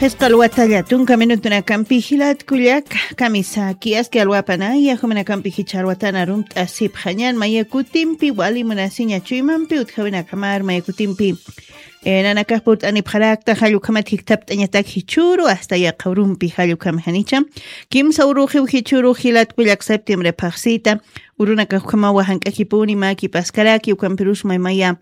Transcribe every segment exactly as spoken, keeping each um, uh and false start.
Phisqa alwatalla tunka minutunakampi jilat kullaka, kamisaki aski alwapanaya, juminakampi jichha alwatana arumt'asipxañan, maya kutimpi wali munasiña chuymampi utjawinakamar, maya kutimpi, eh, nanakax purt'anipxarakta, jallukhamat jikthapt'añatak jichhuru, hasta yaqha urumpi jallukhamjanicha. Kimsa uruxiw jichhuru jilat kullaka septiembre phaxsita, urunakax ukhamawa jank'akipuni, maki paskaraki, ukampirus maymaya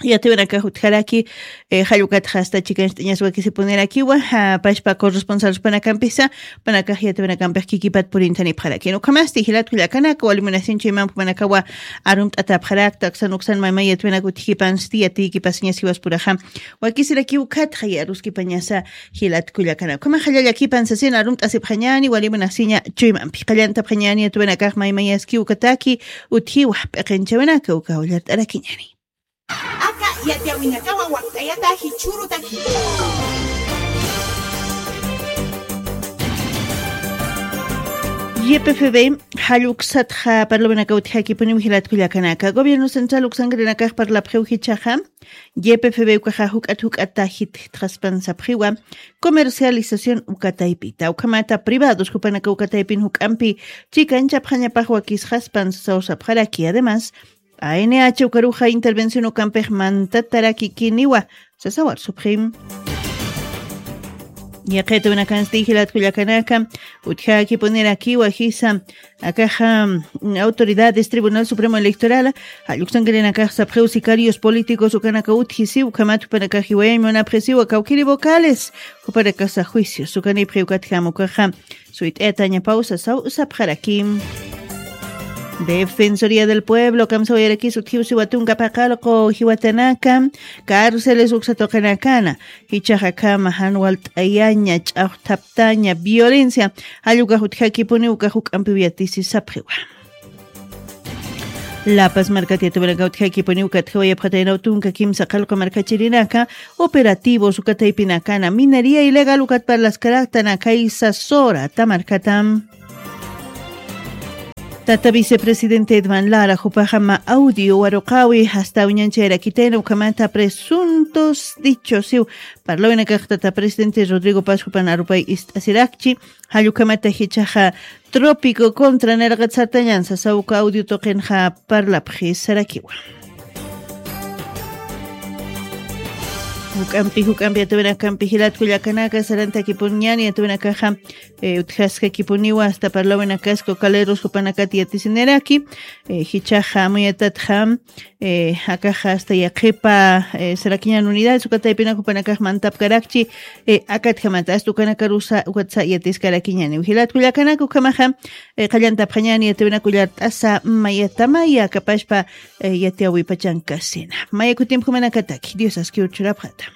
yatiwanakax utjaraki, eh, jallukatxa hasta chikancht'añas wakisipunirakiwa, ja, pashpa corresponsalspanakampisa, panakax yatiwanakampix kikipat purintanipxaraki. Ukhamasti jilat kullakanaka, wali munasin chuymampi panakawa arumt'atapxarakta, aksan uksan maymay yatiwanak utjikipansti, yatiyikipasiñas jiwaspuraxa. Wakisirakiw ukhatxa yaruskipañasa jilat kullakanaka. Ukhamax jallallakipan sasin arumt'asipxañani, wali munasiña chuymampi. Qallantapxañani, yatiwanakax maymayaskiw ukataki, utjiwa, p'iqinchawinaka, uka ullart'arakiñani. Aka yatiyawinakawa wakt'ayata jichhürutaki. Y P F B, jalluksatxa parlawinakaw utjakipuniw jilat kullakanaka. Gobierno central uksankirinakax parlapxiw jichhaxa. Y P F B ukaxa juk'at juk'ata jitjaspan sapxiwa. Comercialización ukataypita. Ukhamata privados jupanaka ukataypin juk'ampi chikanchapxañapax wakisxaspan sasaw sapxaraki. Además, A N H ukaruxa intervención ukampix mantatarakikiniwa, sasawar supxim. Yaqitawinakansti jilat kullakanaka, utjakipunirakiwa jisa, akaxa, mm, autoridades Tribunal Supremo Electoral, jalluksankirinakax sapxiw sicarios políticos ukanaka utjisiw, ukhamat jupanakax jiwayañ munapxisiwa kawkiri vocales, jupanakasa juicios ukanipxi ukatjam ukaxa, suyt'ayatañapaw sasaw sapxaraki. Defensoría del Pueblo kamsawayarakis utjiw siwa tunka paqallqu jiwatanaka, cárceles uksa tuqinakana, jichhaxa akhama jan walt'ayaña, ch'axthaptaña, violencia, jallukax utjakipuniw ukax juk'ampiw yatisi sapxiwa. La Paz markat yatiwanakaw utjakipuniw ukatjawayapxataynaw tunka kimsa qallqu markachirinaka, operativos ukataypinakana, minería ilegal ukat parlaskaraktanakay sasura, ta markatam. Tata vicepresidente Edman Lara, jupaxa mä audio waruqawi, hasta uñanchayarakitayna ukhamata presuntos dichos, siw, parlawinakax tata presidente Rodrigo Paz jupan arupay ist'asirakchi, jallukhamata jichhaxa Trópico contra nirqat sartañan sasawka audio tuqinxa parlapxi sarakiwa. Juk'ampi, juk'ampi yatiwinakampi jilat kullakanaka sarantakipuñani yatiwinakaxa, eh, utjaskakipuniwa hasta parlawinakas cocaleros jupanakat yatisiniraki, eh, jichhaxa amuyatatxa, eh, akaxa hasta yaqhipa, eh, sarakiñan unidades ukataypinaka jupanakax mantapkarakchi, eh, akatjamata hasta ukanakarusa ukatsa yatiskarakiñani. Jilat kullakanaka ukhamaxa, eh, qallantapxañani yatiwinaka ullart'asa mayatamaya kapashpa, eh, yatiyawi pachankasina. Maya kutimpi jumanakataki, Dios askiw churapxata.